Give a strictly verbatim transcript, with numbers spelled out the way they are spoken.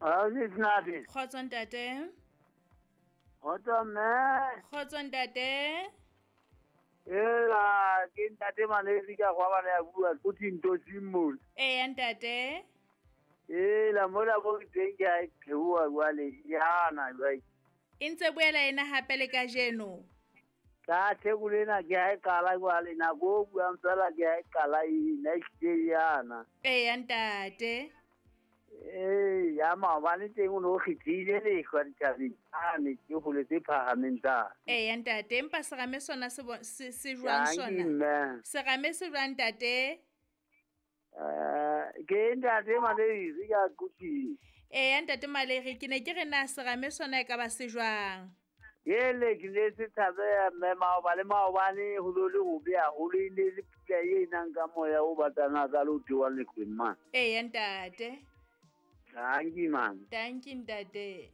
Ausi Snathi. Kgotso ntate. Kgotso mme. Kgotso ntate. Ela ke ntate Malezi ka gwa bana ya bua go thinto simol. Eya ntate. Ela mola go teng ke a theoha jwale yana jwale. E ntse boela ena hape le kajeno. Ka theko lena ke a e qala jwale nako o buang fela ke a e qala ena ehlile yana. Eya ntate. Ee, ya maobane teng o no kgethile lehlwa dithabeng ane ke hole tse phahameng tsa. Eya ntate, empa serame sona se bo- se se jwang Dankie, sona? mme. Serame se jwang ntate? Eh, ke ntate Malezi ka Quthing. Eya ntate Malegi, ke ne ke re na serame sona e ka ba se jwang? Ele ke ne se tshabeha mme maobane maobane ho lo le hobe haholo e ne le pula e nang ka moya o batang hakalo o theohang lehlweng mane. Eya ntate. Dankie, man. Dankie ntate.